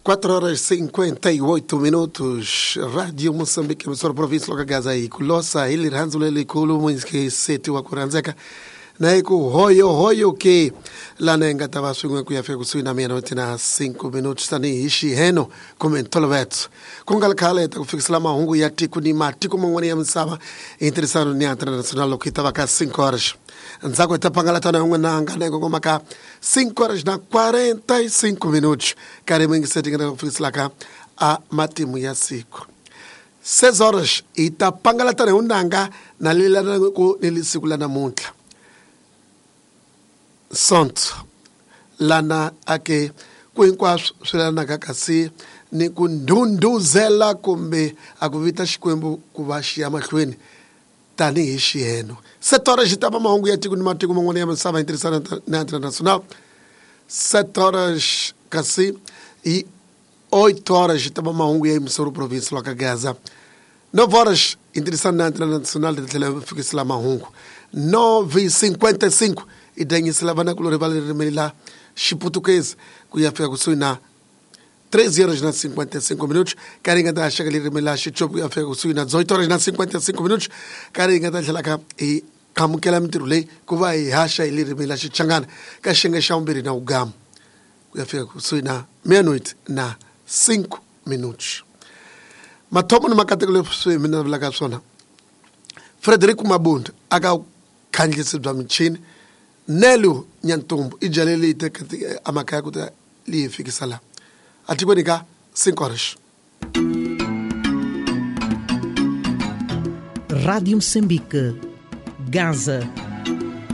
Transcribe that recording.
4 horas e 58 minutos. Rádio Moçambique, emissora província loka Gaza yi ku losa hi rirhandzu lelikulu muinseti wa ku rhandzeka na hi ku hoyo hoyo ke lana hi nga ta va swin'we ku ya fika kusuhi na mina na 5 minutos tanihi xiheno kumbe ntolovelo ku nga ri khale hi ta ku fikisela mahungu ya tiko ni matiko man'wana ya misava hi ntirhisano ni international loko yi ta va ka 5 horas ndzhaku hi ta pangalatana yin'wana nga na yi kongoma ka 5 horas na 45 minutos karhi mingiseti nga ta ku fikiselaka a matimu ya siku 6 horas hi ta pangalatana hi unanga na lelanaku ni lisiku la namuntlha sonto lana ake ku hinkwaswo swi lanaka kasi ni ku ndhundhuzela kumbe a ku vita xikwembu ku va xi ya mahlweni tanihi xiheno 7 horas xi ta va mahungu ya tiko ni matiko man'wana ya misava hi ntirhisano na international 7 horas kasi hi 8 horas xi ta va mahungu ya emisoro province lwa ka Gaza 9 horas hi ntirhisano na international ti tlhela fikisela mahungu 9:55 i danyisela vanakulorhi va ririmi la xiputukezi ku ya fika kusuhi na 13 horas na 55 minutos karhi hi nga ta haxeka ririmi la xitshopi ku ya fika kusuhi na 18 horas na 55 minutos karhi hi nga ta tlhelaka hi amukela mintirho leyi ku va hi haxa hi ririmi la xichangana ka xiyenge xa vumbirhi na vugamu ku ya fika kusuhi na meia-noite na 5 minutos mathomo ni makateko leswi mina vulaka swona Frederico Mabunda aka khandlisi bya michini Nelo Nyantumbu i byale leyi teka amakaya ku ta leyi fikisa laha atikweni ka 5 horas. Rádio Moçambique, Gaza.